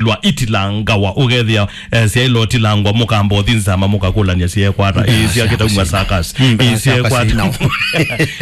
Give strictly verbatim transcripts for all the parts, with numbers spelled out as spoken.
lwa itilangawa, ũkethĩa, eh, syaĩlwa ũtilangwa, mũkamba ũthi nzama, mũkakũlany'a syekwata. Ĩĩ, syakĩtaumwa sakas. Mm, ĩĩ, syakwata.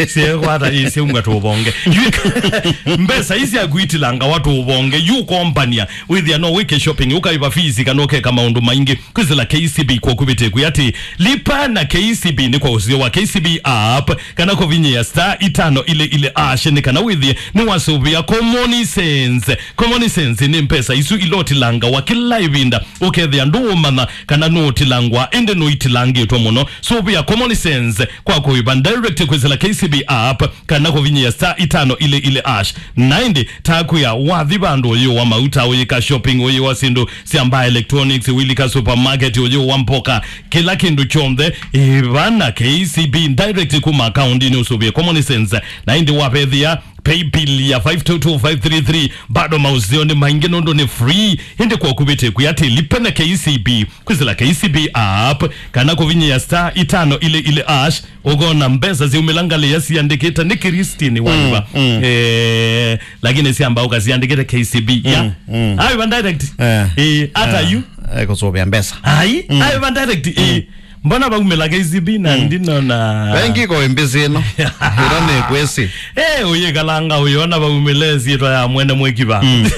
Syekwata, ĩĩ, syaumwa tũvonge. Yu-, mbesa ii syaku itilangawa tũvonge, yu ũkombany'a, wĩthĩa no wĩke shopping, ũkaĩva fees, kana ũkeka maũndũ maingĩ. Kwĩsĩla K C B kwa kũvĩtĩa kwĩ atĩ, lipa na K C B nĩ kwa ũsio wa K C B app, kana kũvinyĩa star itano ile ile hash, nĩ kana wĩthĩe nĩwasũvĩa common sense. Common sense nĩ mbesa isu ila ũtilangawa kĩla ĩvinda, ũkethĩa ndũũmanya kana nũũtilangwa, ĩndĩ nũitilangĩtwe mũno. Sũvĩa common sense kwa kũĩva direct kwĩsĩla K C B app, kana kũvinyĩa star itano ile ile hash. Na ĩndĩ, ta kwĩa, wathi vandũ ũyĩũwa mauta, ũyĩka shopping, ũyĩũwa syĩndũ sya mbaa, electronics, ũilika supermarket, ũyĩũwa mboka, kĩla kĩndũ kyonthe, ĩva na K C B direct kuma akaundinĩ ũsũvĩe common sense. Na ĩndĩ wavethĩa paybill ya five two two five three three, bado maũseo nĩ maingĩ nũndũ nĩ free. Ĩndĩ kwa kũvĩtĩa kwĩ atĩ lipa na K C B, kwĩsĩla K C B app, kana kũvinyĩa star itano ile ile hash, ũkona mbesa syaumĩla ngalĩ ya siandĩkĩte nĩ Christine Waiva. Mm, mm. Eh, lakini syamba ũkasiandĩkĩte K C B. Ya. Mm, mm. Ayo va direct. Eh. Eh, hata yu. Eh, kũsũvĩa mbesa. Ai, mm, ayo va direct. Eh. Mbona vaumĩla K C B na ndinona? Vengi ko mbesa ĩno. Ĩno nĩ kwĩsĩ. Eh, ũyĩkalanga ũyona vaumĩle syĩtwa ya mwene mwĩkiva. Mm.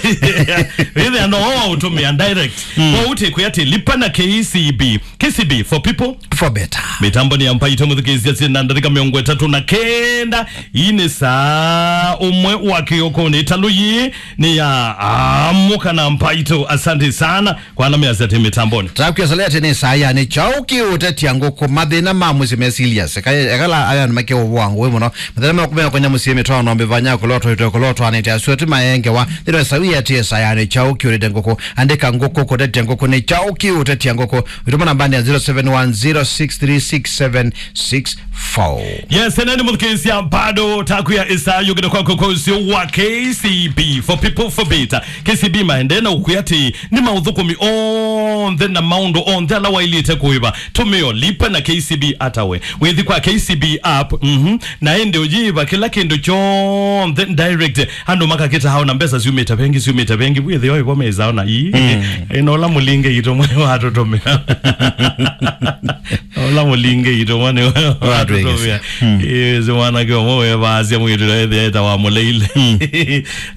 Wĩthĩa no ũtũmĩa direct. Mm. Kwa ũtĩ kwĩ atĩ lipa na K C B. K C B for people. For better. Mĩtambo nĩ ya Mbaitũ mũthikĩĩsya syĩ na ndatĩka mĩongo ĩtatũ na kenda. Ii nĩ saa ũmwe wa kĩoko nĩ ĩtalũ yĩĩ nĩ ya Amũka na Mbaitũ. Asante sana kwa ala measya atĩ mĩtamboni. Takwĩa salete nĩ saa ya nĩ kyaũ kĩũtetia ngũkũ, mathĩna ma mũsyĩ me serious. Eka-, ekala aya nĩ make ũvũa ngũĩ mũno. Mathĩna ma kũmea kũnya mũsyĩ mĩtwano mĩvanya kũlotwa ito kũlotwa nĩ ta sueti maengewa. Nĩ saa ya nĩ kyaũ kĩũtetia ngũkũ. Andĩka ngũkũ kũtetia ngũkũ nĩ kyaũ kĩũtetia ngũkũ. Wĩtũma nambani ya zero seven one zero six three six seven six four. Yes, ene nĩ mũthikĩĩsya bado takwĩa ĩsaa yũkĩte kwaku kwa ũsio wa K C B for people for better. K C B maendee na ũkwĩa atĩ nĩ maũthũkũmi onthe na maũndũ onthe ala wailĩte kũĩva. Tũmĩo lipa na K C B atawe. Wĩthi kwa K C B app, mhm. Na ĩndĩ ũyĩva kĩla kĩndũ kyonthe direct. Andũ makakĩta hao na mbesa syumĩte vengi, syumĩte vengi. Wĩthĩo ĩvo mesaona ii. Mm. Ĩno ũla mũlinge itũ mwe watũtũmĩa. Ũla mũlinge itũ mwe nĩ watũtũmĩa. Mm. Ĩĩ, si mwanake ũmwe wevaasya mwĩĩtu na ethĩa etawa mũleile. Mm.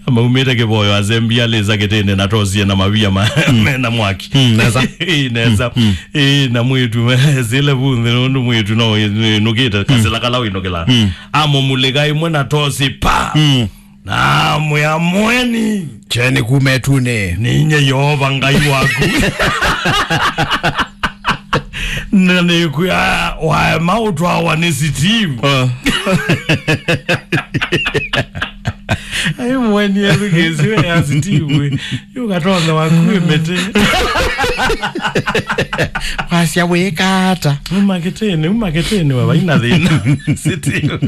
Maumĩte kĩvoyo asembi alĩsa kĩtĩnĩ na tosie na mavia ma, mm, mena mwaki. Mm, nesa. Ĩĩ, nesa. Mm, mm. Ĩĩ, na mwĩĩtu sile vu nthĩ nũndũ mwĩĩtu no ĩnũkĩte, mm, kasĩla kala wĩnũkĩla. Mm. Amũmulĩka ĩmwe na tosi pa. Mm. Na mwĩa mweni. Kyeni kuma ĩtunĩ. Ninye Yeova Ngai waku. Na nĩkwĩa waema ũtwawa nĩ Steve. Ah. Ai mweni ethukĩĩsyo ya Steve. Yũkatonya waku ĩmĩtĩ. Wasya wĩka ata? Uma kĩtĩnĩ, uma kĩtĩnĩ, we vaina thĩna. Steve.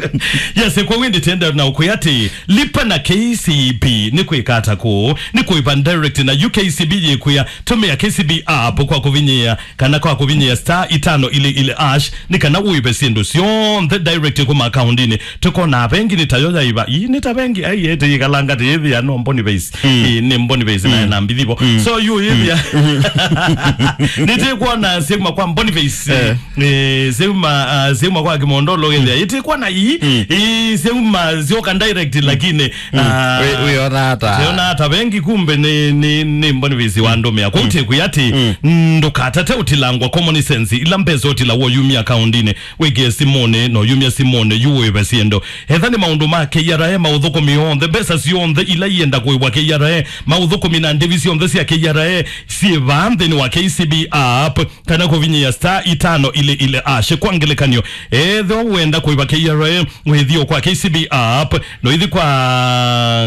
Yes, kwa wĩndĩ tenda na ũkwĩa atĩ lipa na K C B nĩ kwĩka ata kũũ, nĩ kũĩva direct na U K C B yĩkwĩa tũmĩa K C B app kwa kũvinyĩa kana kwa kũvinyĩa star itano ile ile hash, nĩ kana ũĩve syĩndũ syonthe direct kuma akaundinĩ. Tũkonaa vengi nĩ tayo yaiva. Ii, nĩ ta vengi, ai, ete yĩkalanga tĩ yĩthĩa no Boniface. Mm. Ii, nĩ Boniface na, mm, na mbithi vo. Mm. So, yu yĩthĩa. Mm. Nĩtĩkwona syauma kwa Boniface. Eh. Eh, syauma, ah, syauma kwa Kimondolo gĩthĩa. Mm. Ĩtĩkwona ii, mm, ii, syauma syoka direct, mm, lakini, mm, ah, wĩ-, wĩona ata? Wĩona ata vengi kumbe nĩ, nĩ, nĩ Boniface wa, mm, ndũmĩa. Kwa, mm, ũtĩkwĩa atĩ, mm, ndũkatate ũtilangwa common sense, ila mbesa ũtilawa ũyumya akaundinĩ. Wĩkĩe simũnĩ, na ũyumya simũnĩ, yu ũĩve syĩndũ. Etha nĩ maũndũ ma K R A, maũthũkũmi onthe, mbesa syonthe ila ienda kũĩvwa K R A, maũthũkũmi na ndĩvi syonthe sya K R A syĩ vaa nthĩnĩ wa K C B app, kana kũvinyĩa star itano ile ile hash. Kwa ngelekany'o, ethĩwa wenda kũĩva K R A, wĩthio kwa K C B app, no ithi kwa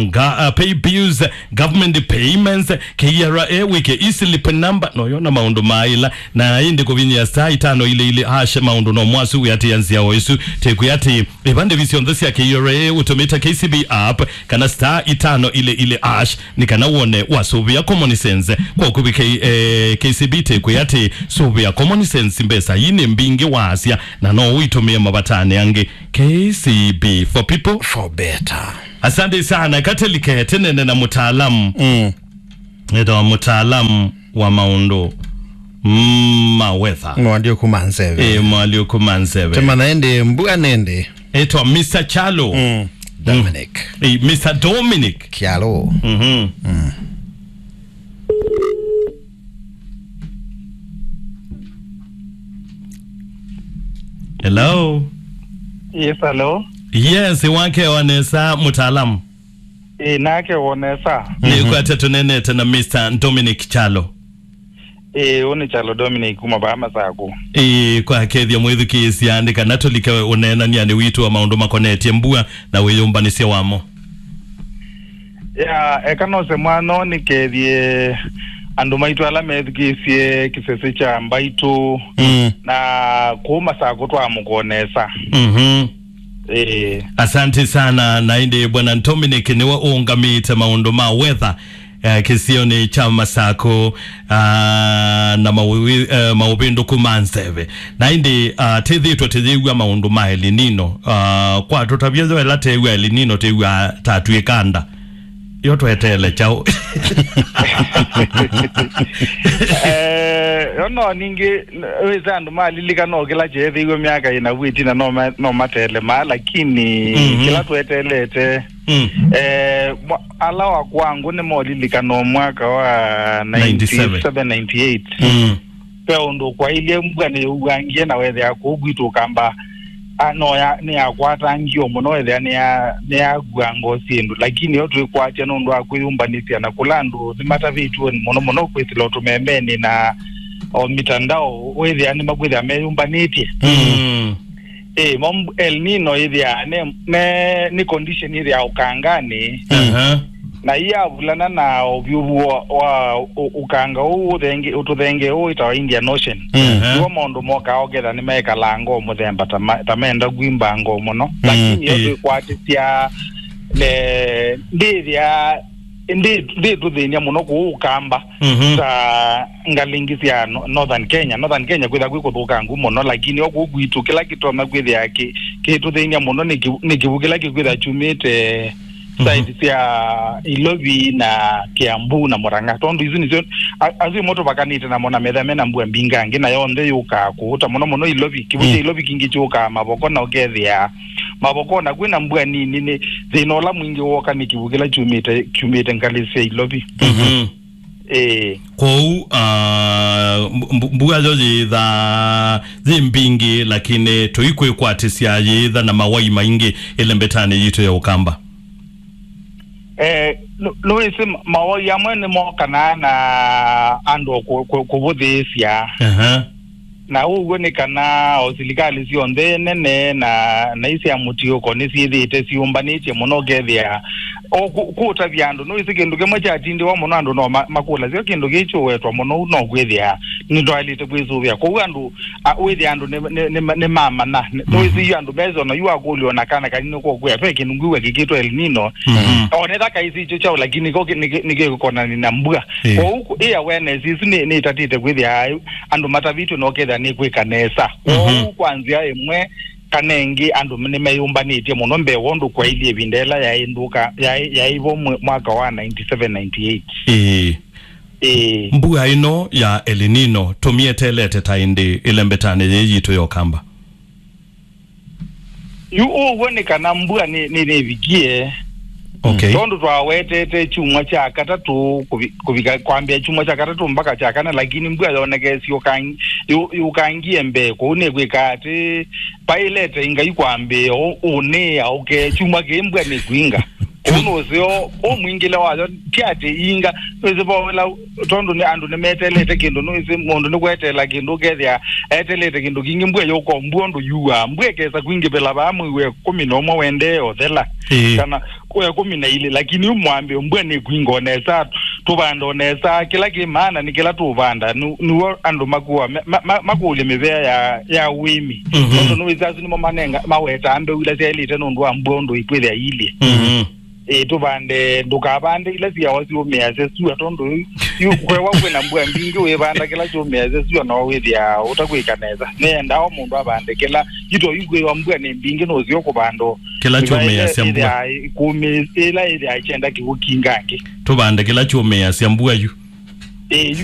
nga-, uh, pay bills, government payments, K R A, wĩke e-slip number, no yona maũndũ maĩla, na ĩndĩ kũvinyĩa star itano ile ile hash maũndũ no mwasu wĩatĩĩa nzĩa o ĩsu. Tĩkwĩa atĩ ĩva ndĩvi syonthe sya K R A ũtũmĩte K C B app kana star itano ile ile hash, nĩ kana wone wasũvĩa common sense. Kwa ũkuvĩ K-, eh, K C B tĩkwĩa atĩ sũvĩa common sense, mbesa ii nĩ mbingĩ waasya, na no ũitũmĩe mavatanĩ angĩ. K C B for people. For better. Asante sana. Katelike, tenene na mũtaalamu. Mm. Etawa mũtaalamu wa maũndũ, mm, ma weather. Mwalyũku ma nzeve. Eh, mwalyũku ma nzeve. Tũmanya ĩndĩ mbua nĩ ĩndĩ. Etawa Mister Kyalo. Mm. Dominic. Eh, Mister Dominic. Kyalo. Mhm. Mm. Hello. Yes, hello. Yes, wakewa nesa mũtaalamu. Ĩ, nakewa nesa. Nĩkwatya tũneenete na Mister Dominic Kyalo. Ĩ, ũũ nĩ Kyalo Dominic kuma vaa Masakũ. Ĩ, kwa kethya mwĩthukĩĩsya nĩ kana tũlike ũneenany'anĩ witũ wa maũndũ makonetye mbua na wĩyũmbanĩsya wamo. Ya, eka nose mwanya nĩkethye andũ maitũ ala methukĩĩsye kĩsese kya mbaitũ. Mm. Na kũu Masakũ twamũkwa nesa. Mhm. Ĩĩ. Asante sana. Na ĩndĩ Bwana Dominic nĩwe ũũngamĩte maũndũ ma weather, eh, kĩsionĩ kya Masakũ, ah, na maũvi-, eh, maũvĩndũku ma nzeve. Na ĩndĩ, ah, tĩthĩtwe tĩyĩw'a maũndũ ma El Nino. Ah, kwa tũtavya yo ĩla tĩw'a El Nino tĩw'a tatw'ĩka nda. Yo tweteele kyaũ? Eh, yo no ningĩ, wĩsa andũ malilikana o kĩla kyeethĩiwe myaka ĩna vu ĩtina no ma-, no mateele maa, lakini Mhm. kĩla tweteelete, Mm. eh, mwa-, ala wa kwangu nĩ molilikana o mwaka wa ninety-seven. Ninety-seven, ninety-eight. Mm. Ve ũndũ kwailye mbua nĩyũangie na wethĩa kũu kwitũ Ũkamba, a, no ya, nĩyakwatangie mũno, wethĩa nĩya-, nĩyakuanga o syĩndũ, lakini yo twĩkwatya nũndũ wa kwĩyũmbanĩsya na kũla andũ nĩmatavĩtw'e mũno mũno kwĩsĩla ũtũmemenĩ na o mitandao, wĩthĩa nĩmakwĩthĩa meyũmbanĩtye. Mm. Ĩ, mo mb-, El Nino ĩthĩa ne, ne, nĩ condition ĩthĩa ũkanganĩ. Aha. Na iyavulana na ũvyũvu wa, wa ũ-, ũkanga ũũ ũthenge-, ũtũthengee ũũ wĩtawa Indian Ocean. Mhm. Nĩw'o maũndũ mokaa ũketha nĩmekalanga o mũthemba ta ma-, ta menda kwimba ngoo mũno. Mm. Lakini yo ĩ. Twĩkwatĩsya, eh, ndĩthĩa, ndĩ-, ndĩtũthĩny'a mũno kũũ Ũkamba. Mhm. Ta ngalĩ ingĩ sya no-, Northern Kenya. Northern Kenya kwĩtha kwĩ kũthũkangu mũno, lakini o kũu kwitũ kĩla kĩtonya kwĩthĩa kĩ-, kĩtũthĩny'a mũno nĩ kĩvu-, nĩ kĩvu kĩla kĩkwĩtha kyumĩte Mhm. side sya Ilovi na Kiambu na Murang'a, tondũ isu nĩsyo a-, asu ĩmo tũvakanĩte namo na metha mena mbua mbingangĩ, na yonthe yũkaa kũũta mũno mũno Ilovi. Kĩvu kya Mm. Ilovi kingĩ kyũkaa Mavoko, na ũkethĩa Mavoko na kwĩna mbua nini, nĩ thĩna ũla mwingĩ woka nĩ kĩvu kĩla kyumĩte, kyumĩte ngalĩ sya Ilovi. Mhm. Ĩĩ. Kwoou, ah, mbu-, mbu-, mbua yo yĩthaa yĩ mbingĩ, lakini tũikwĩkwatĩsya yĩtha na mawai maingĩ ĩlembetanĩ yitũ ya Ũkamba. Eh, nũ-, nũĩsĩ ma-, mawai amwe nĩmokanaa na andũ kũ-, kũ-, kũvũthĩĩsya. Aha. Na ũw'o nĩ kana o silikalĩ syonthe nene na, na isya mũtiũko nĩsyĩthĩĩte syĩũmbanĩtye mũno, ũkethĩa o kũ-, kũtavya andũ. Nũĩsĩ kĩndũ kĩmwe kyatindĩwa mũno andũ no ma-, makũlasya kĩndũ kĩĩ kyũwetwa mũno ũu no kwĩthĩa nĩtwaĩlĩte kwĩsũvĩa. Kwoou andũ, a, wĩthĩa andũ nĩ, nĩ, nĩ, nĩmamanya. Nũĩsĩ yu andũ mesona yu akũlyo na kana kanini kokwĩa ve kĩndũ ngwĩw'a kĩkĩtwa El Nino. Mhm. Onetha kaisi ikyo kyaũ, lakini ko kĩ-, nĩ kĩ-, nĩkĩkonani na mbua. Ĩĩ. Kwoou kũ-, ĩ awareness isu nĩ, nĩtatĩte kwĩthĩa andũ matavĩtw'e na ũkethĩa nĩkwĩka nesa. Mhm. Kwoou kwa nzĩa ĩmwe kana ĩngĩ andũ nĩmeyũmbanĩtye mũno mbee wa ũndũ kwailyĩ ĩvinda ĩla yaĩ ndũka, yaĩ, yaĩ vo mwe-, mwaka wa ninety-seven ninety-eight. Ĩĩ. Ĩĩ. Mbua ĩno ya El Nino tũmyeteelete ta ĩndĩ ĩlembetanĩ yĩĩ yitũ ya Ũkamba? Yu ũw'o nĩ kana mbua nĩ, nĩ, nĩvikie. Okay. Tondũ twawetete kyumwa kya katatũ kũvi-, kũvika kwambĩa kyumwa kya katatũ mpaka kya kana, lakini mbua yonekesye ũkang-, yũ-, yũkangie mbee, kwoou nĩkwĩka atĩ vailete Ngai kwambĩĩa ũ-, ũnĩĩa ũke kyumwa kĩĩ mbua nĩkwinga. Kwoou nũseo, ũ mwingĩle wayo ti atĩ inga, nũĩsĩ vo ĩla, tondũ nĩ andũ nĩmetelete kĩndũ, nũĩsĩ mũndũ nĩkweteela kĩndũ, ũkethĩa etelete kĩndũ kingĩ, mbua yũka, mbua ũndũ yuaa, mbua ĩkesa kwingĩvĩla vaa mwei wa ĩkũmi na ũmwe wendee ũthela, Ĩĩ. kana wa ĩkũmi na ilĩ, lakini yu mwambĩĩo mbua nĩkwinga o nesa, tũvanda o nesa, kĩla kĩ maana nĩ kĩla tũũvanda, nĩ, nĩw'o andũ makũa, ma-, ma-, makũlya mĩvea ya, ya ũĩmi. Mhm. Tondũ nũĩsĩ asu nĩmo manenga, mawetaa mbeu ila syaĩlĩte nũndũ wa mbua ũndũ ikwĩthĩa iilye. Mhm. Ĩĩ, tũvande, ndũkavande ila syawa syũmĩasya syũa, tondũ yu, yu kwewa kwĩna mbua mbingĩ, wĩvanda kĩla kyũmĩasya syũa, no wĩthĩa ũtakwĩka nesa. Nĩendaa o mũndũ avande kĩla, yu to yu kwĩwa mbua nĩ mbingĩ, nũseo kũvanda o, Kĩla kyũmĩĩasya mbua. Kũmĩ ĩla ĩthĩa kyenda kĩw'ũ kingangĩ. Tũvande kĩla kyũmĩĩasya mbua yu. Ĩĩ, yu